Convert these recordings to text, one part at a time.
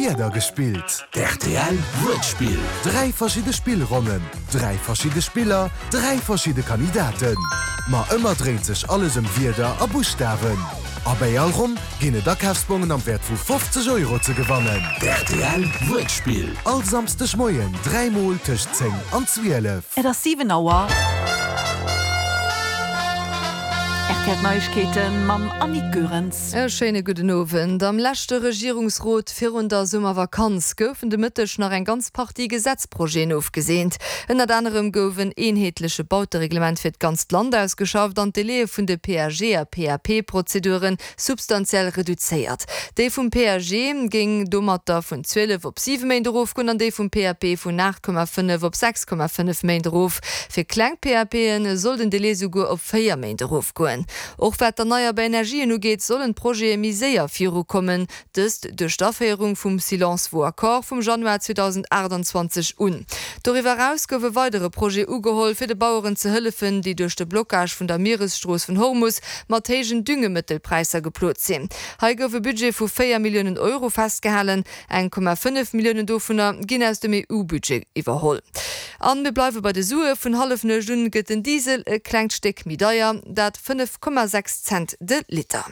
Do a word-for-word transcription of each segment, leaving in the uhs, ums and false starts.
Wierder gespillt. Rtl Wuertspill. Dräi verschidde Spillronnen, dräi verschidde Spiller, dräi verschidde Kandidaten. Ma ëmmer dréint sech alles ëm Wierder a Buschtawen. A bei all Ronn ginn et Akafsbongen am Wäert vu fofzeg Euro ze gewannen. Rtl Wuertspill. All Samsdeg Moien dräi Mol tëscht zéng an zwielef. Et ass siwen Auer. R T L Neiegkeete mam Annick Goerens. E schéine gudden Owend. Am leschte Regierungsrot virun der Summervakanz goufen de Mëtteg nach eng ganz Partie Gesetzprojeten ofgeseent. Ënnert anerem gouf en eenheetleche Bautereglement fir d'ganzt Land ausgeschafft an d'Délaië vun de P A G a P A P-Prozedure substantiell reduzéiert. Déi vum P A G géing domatter vun zwielef op siwe Méint erofgoen an déi vum P A P vun aacht Komma fënnef op sechs Komma fënnef Méint erof. Fir kleng P A P'en soll den Délai souguer op véier Méint erofgoen. Och wat d'erneierbar Energien ugeet, sollen d'Projete méi séier virukommen, dëst duerch d'Aféierung vum Silence vaut accord vum Januar zweedausendachtundzwanzeg un. Doriwwer eraus gouf e weidere Projet ugeholl, fir de Baueren ze hëllefen, déi duerch de Blockage vun der Mieresstrooss vun Hormus mat héijen Düngemëttelpräisser geplot sinn. Hei gouf e Budget vu véier Milliounen Euro festgehalen, eng Komma fënnef Milliounen dovunner ginn aus dem E U-Budget iwwerholl. An mir bleiwe bei de Sue, vun Hallefnuecht un gëtt den Diesel e klengt Stéck méi deier, dat fënnef Komma sechs Cent de Liter.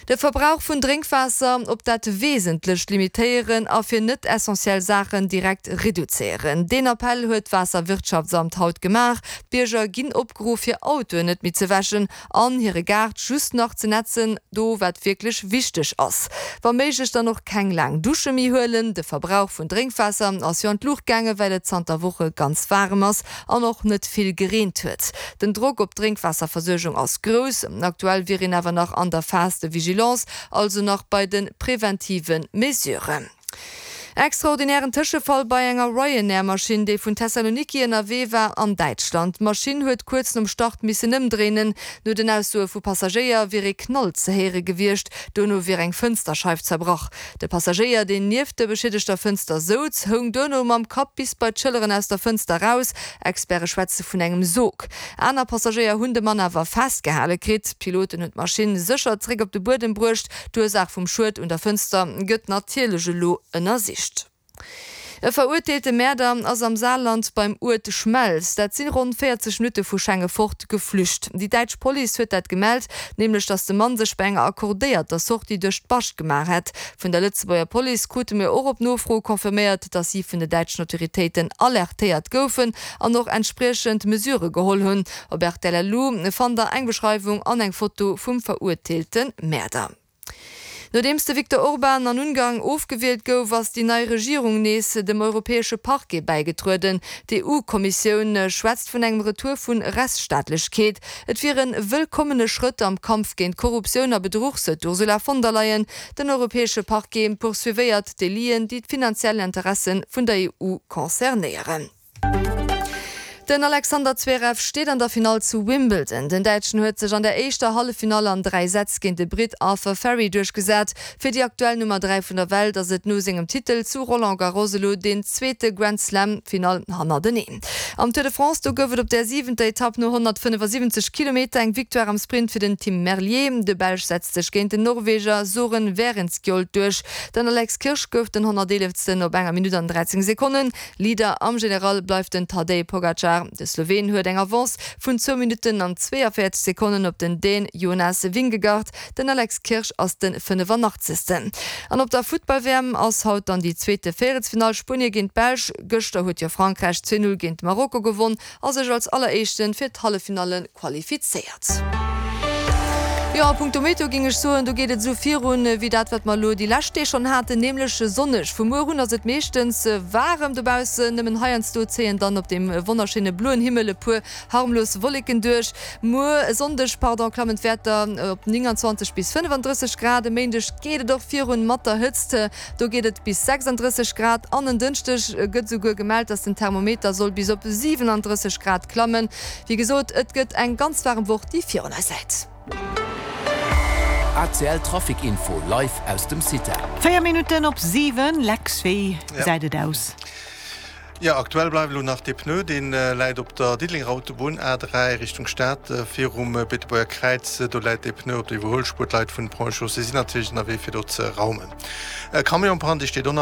De Verbrauch vun Drénkwaasser op dat Wesentlecht limitéieren a fir net essentiell Saachen direkt reduzéieren. Deen Appell huet d'Waasserwirtschaftsamt haut gemaach. D'Bierger ginn opgeruff, hir Autoen net méi ze wäschen an hire Gaart just nach ze netzen, do wat wierklech wichteg ass. Wa méiglech dann och keng laang Dusche méi huelen. De Verbrauch vun Drénkwaasser ass jo an d'Luucht gaangen, well et zanter Woche ganz waarem ass an och net vill gereent huet. Den Drock op d'Drénkwaasserversuergung ass grouss. Aktuell wier een awer nach an der Phase de Vigilance, also nach bei den präventiven Mesuren. Extraordinären Tëschefall bei enger Ryanair-Maschinn, déi vun Thessaloniki ënnerwee war an Däitschland. D'Maschinn huet kuerz nom Start missen ëmdréinen. No den Aussoe vu Passagéier wier e Knall ze héiere gewiescht. Dono wier eng Fënsterscheif zerbrach. De Passagéier, deen nieft der beschädegter Fënster souz, houng duerno mam Kapp bis bei d'Schëlleren aus der Fënster raus. Experte schwätze vun engem Sog. Aner Passagéier hunn de Mann awer festgehale kritt. D'Piloten hunn d'Maschinn sécher zeréck op de Buedem bruecht. D'Ursaach vum Schued un der Fënster gëtt natierlech elo ënnersicht. E verurteelte Mäerder ass am Saarland beim Uert Schmelz, dat sinn ronn véierzeg Minutte vu Schengefort, geflücht. Déi däitsch Police huet dat gemellt, nämlech datt de Mann sech bei enger accordéierter Sortie duerch d'Bascht gemaach hätt. Vun der Lëtzebuerger Police krute mir och op Nofro confirméiert, datt si vun de däitschen Autoritéiten alertéiert goufen an och entspriechend Mesure geholl hunn. Op R T L L U fannt der eng Beschreiwung an eng Foto vum verurteelte Mäerder. Nodeems de Viktor Orban an Ungarn ofgewielt gouf, ass déi nei Regierung nees dem europäesche Parquet bäigetrueden. D'E U-Kommissioun schwätzt vun engem Retour vun Rechtsstaatlechkeet. Et wier en wëllkommene Schrëtt am Kampf géint Korruptioun a Bedruch, sou d'Ursula von der Leyen. Den europäesche Parquet poursuivéiert Délien, déi d'finanziell Interessen vun der E U concernéieren. Den Alexander Zverev steet an der Finall zu Wimbledon. Den Däitschen huet sech an der éischter Halleffinall an dräi Sätz géint de Brit Arthur Fery duerchgesat. Fir déi aktuell Nummer dräi vun der Welt ass et no sengem Titel zu Roland Garros elo den zweete Grand Slam-Finall hannerteneen. Am Tour de France do gouf et op der siwenter Etapp no honnertfënnefasiwwenzeg Kilometer eng Victoire am Sprint fir den Tim Merlier. De Belsch setzt sech géint den Norweger Soren Wærenskjold duerch. Den Alex Kirsch gouf den honnerteeleften op enger Minutt an dräizéng Sekonnen. Leader am General bleift den Tadej Pogacar. De Slowen huet eng Avance vun zwou Minutten an zweeënvéierzeg Sekonnen op den Dän Jonas Vingegaard. Den Alex Kirsch ass den fënnefundachtzegsten. An op der Futtball-W M ass haut dann déi zweete Véierelsfinall Spuenie géint d'Belsch. Gëschter huet jo Frankräich zwee null géint Marokko gewonnen a sech als alleréischten fir d'Halleffinale qualifizéiert. Ja, punkto Meteo ging ech soen, do geet et sou virun, wéi dat, wat mer lo déi lescht Deeg schonn haten, nämlech sonneg. Vu muer un ass et meeschtens waarem dobaussen, nëmmen heiansdo zéien dann op dem wonnerschöne bloen Himmel e puer harmlos Wolleken duerch. Muer Sonndeg, pardon, klammen d'Wäerter op neunundzwanzeg bis fënnefundrësseg Grad. E Méindeg geet et och virun mat der Hëtzt, do geet et bis sechsunddrësseg Grad. An en Dënschdeg gëtt souguer gemellt, dass den Thermometer soll bis op siewenunddrësseg Grad klammen. Wéi gesot, et gëtt eng ganz warm Woch, déi virun eis läit. A C L Traffic Info live aus dem Cita. Véier Minutten op siwen, Lex, wéi Ja. gesäit et aus? Ja, aktuell bleiwen lo nach de Pneu, den, äh, läit op der Diddelenger Autobunn A drei Richtung Stad, äh, virum, äh, Beetebuerger Kräiz, äh, do läit de Pneu op der Iwwerhuelspuer, d'Leit vun Pont-Chaussée sinn natierlech ënnerwee fir do ze raumen. Äh, Camionbrand, die steht och nach